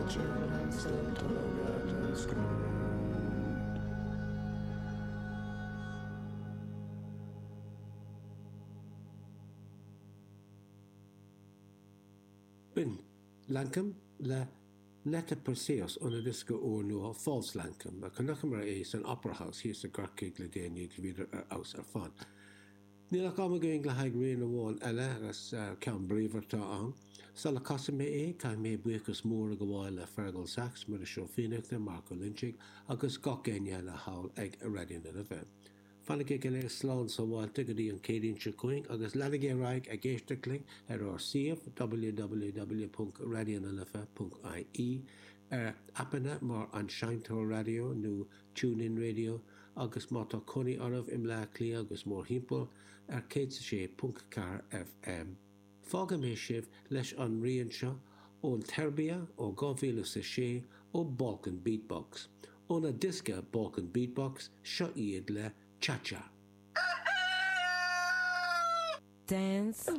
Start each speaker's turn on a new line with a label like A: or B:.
A: Fáilte romhat
B: B'in Lankum le Net-a-Perseus óna ndiosca úrnua False Lankum, a chonaiceamar é san Opera House thíos i gCorcaigh le déanaí agus bhíodar ar fheabhas ar fad. Níl ach am againn le haghaidh rian amháin eile agus ceann bríomhar atá ann. Sula gcasfaidh mé é, caithfidh mé buíochas mór a ghabháil le Feargal Saxe, Muiris Ó Fiannachta, Marc Ó Loinsigh agus gach éinne eile thall ag Raidió na Life. Fanaigí go léir slán sábháilte go dtí an Chéadaoin seo chugainn agus leanaigí ar aghaidh ag éisteacht linn ar ár suíomh www.raidionalife.ie, ar aipeanna mar An Seinnteoir Raidió nó TuneIn Radio agus má tá cónaí oraibh i mBleá Cliath agus mórthimpeall, ar 106.4 FM. Fágfaidh mé sibh leis an rian seo ón tSeirbia ó 2006 ó Balkan Beat Box. Óna diosca Balkan Beat Box, seo iad le Cha Cha.
C: Dance.